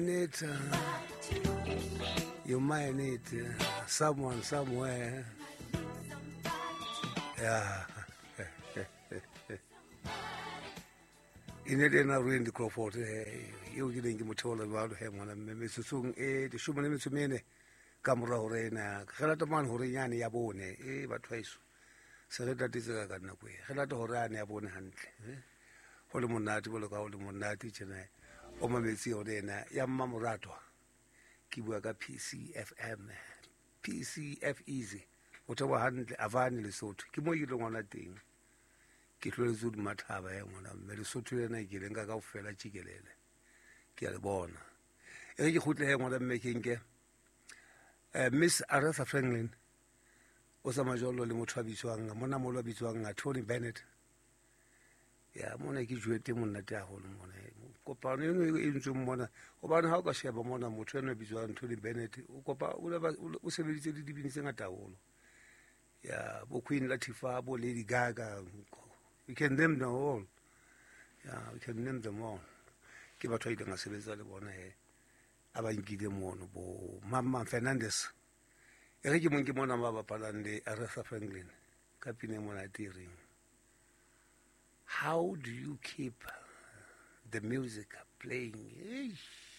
Need, you might need someone somewhere. Yeah. E ne le ena Randy Crawford eo ke neng ke mo theola jwalo he ngwana mme metsotsong e 14 ka mora hore ena re lata mane hore yane ya bone e batho haeso se re tatetse ka nako e re lata hore yane ya bone hantle ho le monate bolo ka ho le monate tjena o mametse yone ena ya mmamoratwa. Ke bua ka PCFM, PCF Easy o theoha hantle Avane Lesotho, ke mo ke ileng ngwana teng. Ke hloletse hodima thaba ya ngwana mme Lesotho lena ke le nka kaofela tjikelele, ke a le bona. E re ke kgutle he ngwana mme ke nke Miss Aretha Franklin o tsamaya jwalo le motho a bitswang monna moholo a bitswang Tony Bennett. Ya mona ke jwete monate haholo mona kopano eno e ntsweng mona, hobane ha o ka sheba mona motho eno a bitswang Tony Bennett o kopa o sebeditse le dibini tse ngata haholo, ya bo Queen Latifah, bo Lady Gaga, you can name them all. Yeah, you can name them all. Ke batho ba ileng a sebetsa le bona he a ba nkile mono bo Mama Fernandez. E re ke mong ke mona ba bapalang le Aretha Franklin ka pina e monate e reng How do you keep the music playing? Eish.